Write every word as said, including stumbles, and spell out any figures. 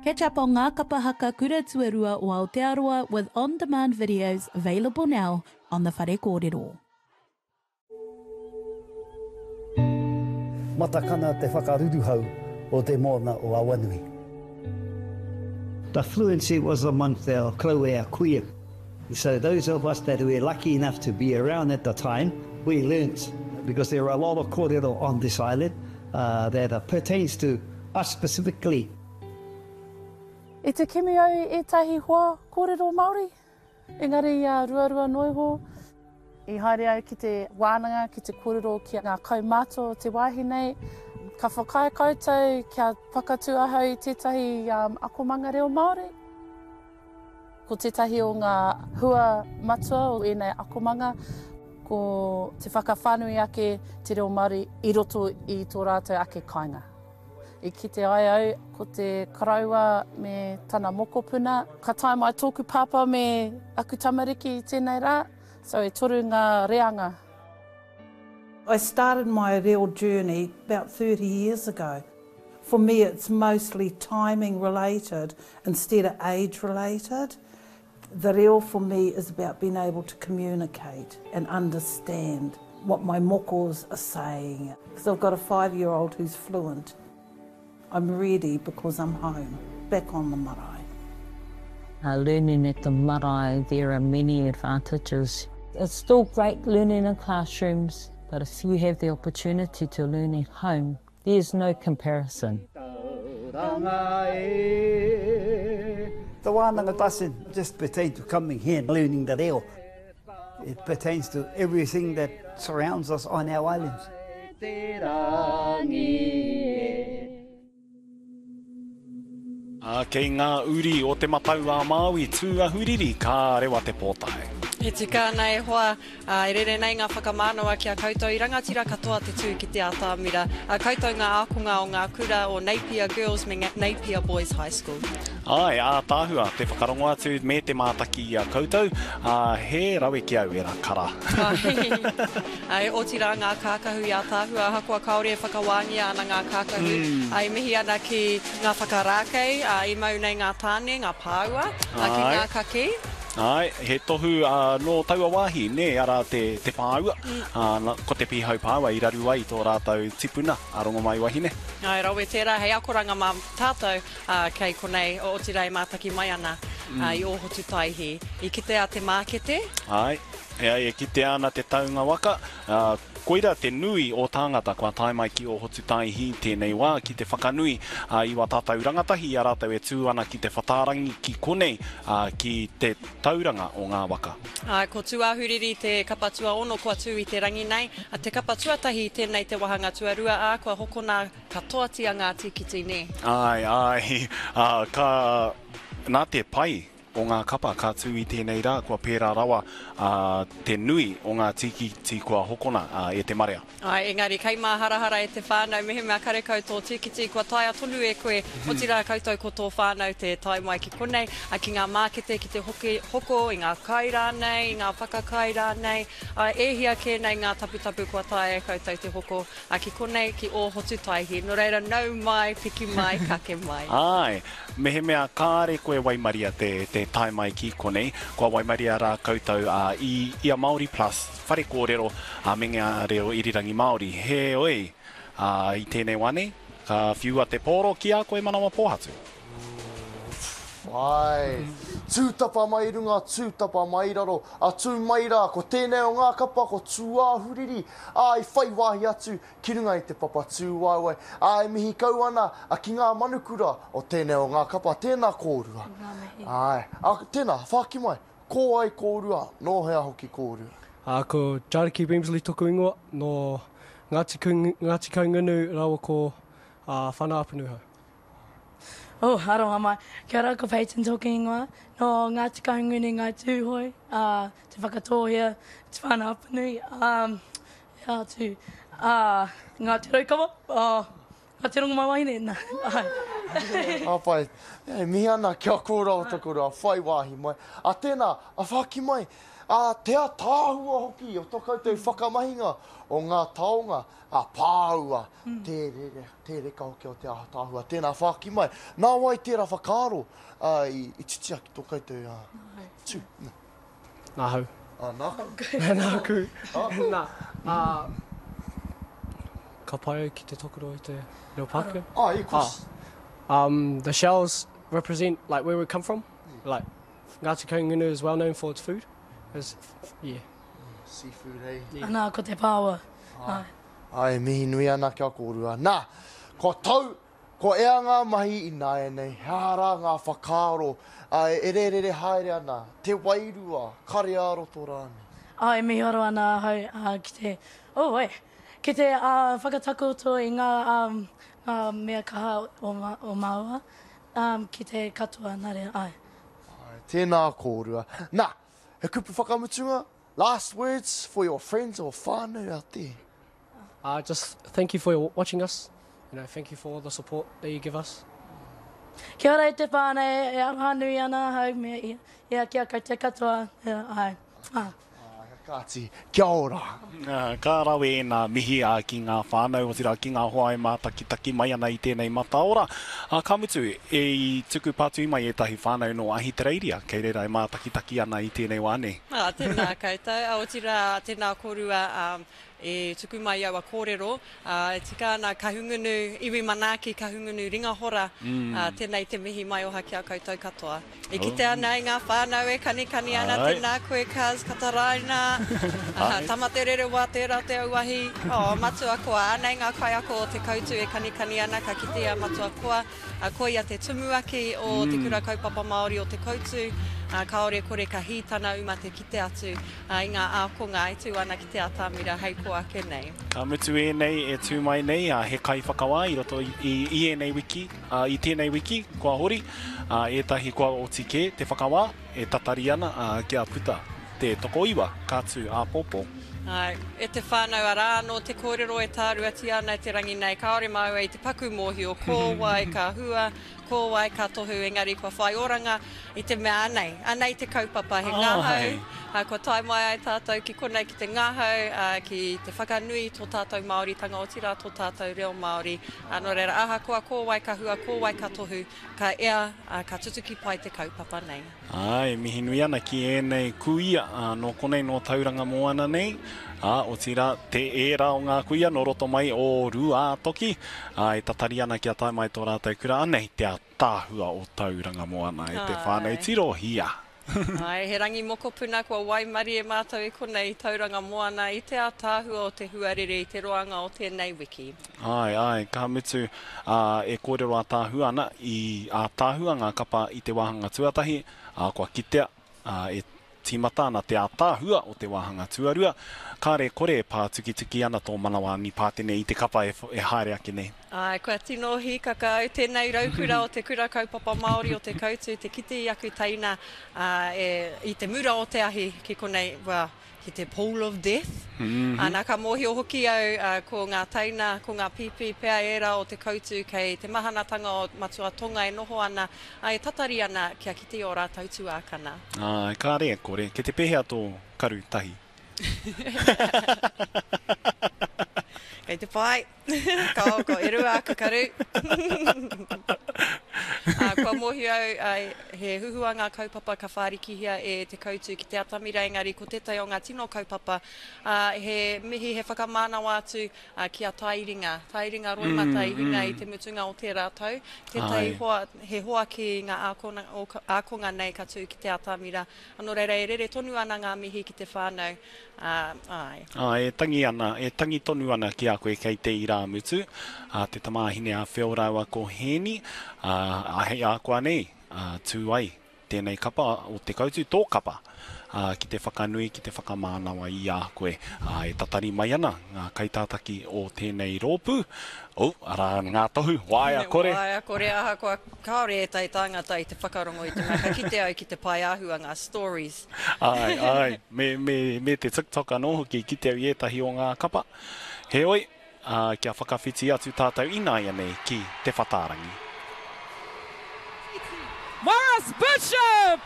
Catch up on Ngā Kapa Haka Kura Tuarua o Aotearoa with on-demand videos available now on the Whare Kōrero. Matakana te whakaruruhau o te moana o Awanui. The fluency was amongst our koroua, our kuia. So those of us that were lucky enough to be around at the time, we learnt, because there are a lot of kōrero on this island uh, that uh, pertains to us specifically. I te kimi au i ētahi hoa kōrero Māori, engari uh, ruarua noa iho. I haere au ki te wānanga, ki te kōrero ki ngā kaumātua o te wāhi nei. Ka whakaae koutou kia whakatū ahau i tētahi um, akomanga reo Māori. Ko tētahi o ngā hua matua o ēnei akomanga, ko te whakawhānui ake te reo Māori i roto i tō rātou ake kāinga. I kite ai au ko te koroua me tana mokopuna. Ka tae mai tōku pāpā me aku tamariki i tēnei rā, so e toru ngā reanga. I started my reo journey about thirty years ago. For me, it's mostly timing related instead of age related. The reo for me is about being able to communicate and understand what my mokos are saying. Because I've got a five-year-old who's fluent. I'm ready because I'm home, back on the marae. Uh, learning at the marae, there are many advantages. It's still great learning in classrooms, but if you have the opportunity to learn at home, there's no comparison. The wānanga doesn't just pertain to coming here and learning the reo. It pertains to everything that surrounds us on our islands. Ā, kei ngā uri o Te Matau a Māui Tūāhuriri ka rewa te pōtae. E tika ana e hoa, ā, e rere nei ngā whakamānawa ki a koutou i rangatira katoa te tū ki te atamira. Ā, koutou ngā ākonga o ngā kura o Napier Girls me Napier Boys High School. Āe, ātaahua te whakarongo atu me te mātaki i a koutou, ā, he rawe ki au era kara. Āe, otirā ngā kākahu i ātaahua, ahakoa kāore e whakawāngia ana ngā kākahu. Mm. Ā, e mihi ana ki ngā whakarākei, ā, i mau nei ngā tāne, ngā pāua, ā, ki Āe. ngā kakī. Āe, he tohu, ā, nō taua wāhi, nē, arā te, te pāua. Mm. Ā, na, ko te pīhau pāua i raru ai tō rātou tipuna, a Rongomaiwahine. Āe, rawe tērā, hei akoranga mā tātou, ā, kei konei, o otirā e mātaki mai ana, Mm. ā, i Ōhotutaihi. I kitea te mākete. Āe, e ai, e kitea ana te taunga waka, ā, koira te nui o tāngata kua tae mai ki Ōhotutaihi tēnei wā ki te whakanui, ā, i wā tātou rangatahi i a rātou e tū ana ki te whatārangi ki konei, ā, ki te tauranga o ngā waka. Ā, ko Tūāhuriri te kapa tuaono kua tū i te rangi nei, a te kapa tuatahi tēnei te wāhanga tuarua, ā, kua hokona katoatia ngā tīkiti, nē? Āe, āe, ā, ka, nā te pai o ngā kapa ka tū i tēnei rā, kua pērā rawa, ā, te nui o ngā tīkiti kua hokona, ā, e te marea. Āe, engari kei māharahara e te whānau, mehemea karekau tō tīkiti, kua taea tonu e koe, otirā koutou ko tō whānau te tae mai ki konei, ā, ki ngā mākete, ki te hoki, hoko i ngā kai rānei, i ngā whakakai rānei, ā, e hia kē nei ngā taputapu kua taea e koutou te hoko, ā, ki konei, ki Ōhotutaihi. Nō reira, nau mai, piki mai, kake mai. Āe, mehemea kāre koe waimaria te, te tae mai ki konei, kua waimaria rā koutou, ā, i, i a Māori Plus, whare kōrero, ā, me ngā reo irirangi Māori. Heoi, ā, i tēnei wā nei, ka whiua te pōro ki a koe manawa pōhatu. Ai, tūtapa mai runga, tūtapa mai raro, a tū mai rā, ko tēnei o ngā kapa, ko Tūāhuriri, ā, i whai wāhi atu ki runga i te papa tūwaewae. Ā, e mihi kau ana a ki ngā manukura o tēnei o ngā kapa, tēnā kōrua. Ngā mihi. Ai, a, tēnā, whāki mai, ko ai kōrua, nō hea hoki kōrua? Ā, ko Jariki Bemsley toku ingoa, nō Ngāti Kung-, Ngāti Kahungunu rawa ko, ā, Whana-Apanuhau. Oh, aroha mai. Kia ora, ko Peyton tōku ingoa. Nō Ngāti Kahungunu, Ngāi Tūhoe, ā, Te Whakatōhea, Te Whana-Apanui, ā, ea atu, ā, Ngāti Raukawa, ā, Ngāti Rongomaiwahine, nā, āe. Ā, pai. E mihi ana kia kōrua o taku rā, whai wāhi mai. A tēnā, a whāki mai, Ā, te ataahua hoki o tō koutou whakamahinga o ngā taonga, ā, pāua, tē rere, tē reka hoki o te ataahua. Tēnā whāki mai. Nā wai tērā whakaaro, ā, i, i titia ki tō koutou, ā, tū? Nāhau. Ā, nāku. Nāku. Nā, ā, ka pai au ki te tokoro i te reo Pākehā. Ah, of course. Ah, um, the shells represent like where we come from. Like Ngāti Kahungunu is well known for its food. It's, yeah. Seafood, eh? Yeah. Anā, ko te pāua. Ai. Ai, mihi nui ana kia kōrua. Nā, kua tau, kua ea ngā mahi ināianei, he aha rā ngā whakaaro, ai, e rērere haere ana, te wairua, kare ā-roto rānei. Ai, miharo ana ahau, ā, ki te, oh, wai, ki te, ā, whakatakoto i ngā, um, ngā mea kaha o, ma, o māua, um, ki te katoa, nā reira, ai. Ai, tēnā kōrua. Nā, he kupu whakamutunga, last words for your friends or whānau out there? Uh, just thank you for watching us. You know, thank you for all the support that you give us. Kia ora e te whānau, e aroha nui ana ahau me ia, ia kia koutou katoa, ia, ai. Ah. Kāti, kia ora. Ka rawe ēnā mihi a ki ngā whānau, otirā ki ngā hoa e mātakitaki mai ana i tēnei mataora. Ka mutu, e i tuku pātui mai ētahi whānau nō Ahitereiria, kei reira e mātakitaki ana i tēnei wā nei. Ah, tēnā koutou, otirā tēnā kōrua um, e tuku mai aua kōrero. Uh, e tika ana Kahungunu, iwi manaaki, Kahungunu ringahora, mm. uh, tēnei te mihi maioha ki a koutou katoa. E kite ana i ngā whānau e kanikani ana, tēnā koe Kaz, Kataraina, uh, Tamatererewa, tērā te auahi, oh, Matua Koa, anei ngā kaiako o Te Koutu e kanikani ana, ka kitea Matua Koa, uh, koia te tumuaki o mm. Te Kura Kaupapa Māori o Te Koutu, uh, kāore kore ka hītana uma te kite atu uh, i ngā ākonga e tū ana ki te atamira hei ko ake nei. Ka mutu ēnei e tū mai nei, uh, he kaiwhakawā i roto i, i, i ēnei wiki, uh, i tēnei wiki, kua hori, uh, ētahi kua oti kē te whakawā, e tatari ana uh, kia puta te tokoiwa, ka tū āpōpō. Ai, e te whānau arā anō te kōrero e tāruatia ana e te rangi nei, kāore māua i te paku mōhio, ko wai ka hua, ko wai ka tohu, engari kua whai oranga i te mea anei, anei te kaupapa, he ngahau, uh, kua tae mai ai tātou ki konei ki te ngahau, uh, ki te whakanui tō tātou Māoritanga, otirā tō tātou reo Māori. Uh, nō reira, ahakoa ko wai ka hua, ko wai ka tohu, ka ea, uh, ka tutuki pai te kaupapa nei. Ai, mihi nui ana ki ēnei kuia, uh, nō konei nō Tauranga Moana nei, ā, otirā, te ērā o ngā kuia nō roto mai o Rūātoki, ā, e tatari ana kia tae mai tō rātou kura, anei te ataahua o Tauranga Moana e te whānau tirohia. Ai, he rangi mokopuna kua waimarie mātou i konei i Tauranga Moana i te ataahua o te huarere i te roanga o tēnei wiki. Ai, ai, ka mutu, ā, e kōrero ataahua ana i ataahua ngā kapa i te wāhanga tuatahi, ā, kua kitea, ā, e tīmata ana te ataahua o te wāhanga tuarua, kāre kore e pātukituki ana tō manawa anipātene i te kapa e, e haere ake nei. Ai, kua tino hīkaka au tēnei raukura o te Kura Kaupapa Māori o Te Koutu, te kite i aku teina uh, e, i te mura o te ahi ki konei, well, ki te pool of death. Mm -hmm. Ana, ka mōhio hoki au uh, ko ngā teina, ko ngā pīpī pea ērā o Te Koutu kei te mahanatanga o Matua Tonga e noho ana, e tatari ana kia kite o rātou tuākana. Ai, kāre e kore, ke te pēhea tō karu tahi? Kei te pai. Ka ko e rua aku karu. Uh, kua mōhio au, uh, he huhua ngā kaupapa ka whārikihia e Te Koutu ki te atamira, engari ko tētahi o ngā tino kaupapa, uh, he mihi, he whakamānawa atu uh, ki a Tairinga. Tairinga Roimata mm, i hinga mm. i te mutunga o tērā tau. Tētahi hoa, he hoa ki ngā ākonga, ākonga nei ka tū ki te atamira. Nō reira, e rere tonu ana ngā mihi ki te whānau. Uh, ai. Ai, e tangi ana, e tangi tonu ana ki a koe kei te irāmutu, a te tamāhine a Whio rāua ko Hēni, a, a hei a koa nei, a, tū ai tēnei kapa o Te Koutu, tō kapa, a, ki te whakanui, ki te whakamānawa i a koe. A, e tatari mai ana ngā kaitātaki o tēnei rōpū. Oh, arā ngā tohu, waea kore. Waea kore, ahakoa kāore ētahi tāngata i te whakarongo i te mea, ka kite au ki te pae āhua ngā stories. Ai, ai, me, me, me te TikTok anō hoki kite au i ētahi o ngā kapa. Heoi, uh, kia whakawhiti atu tātou ināianei ki te whatārangi. Morris Bishop!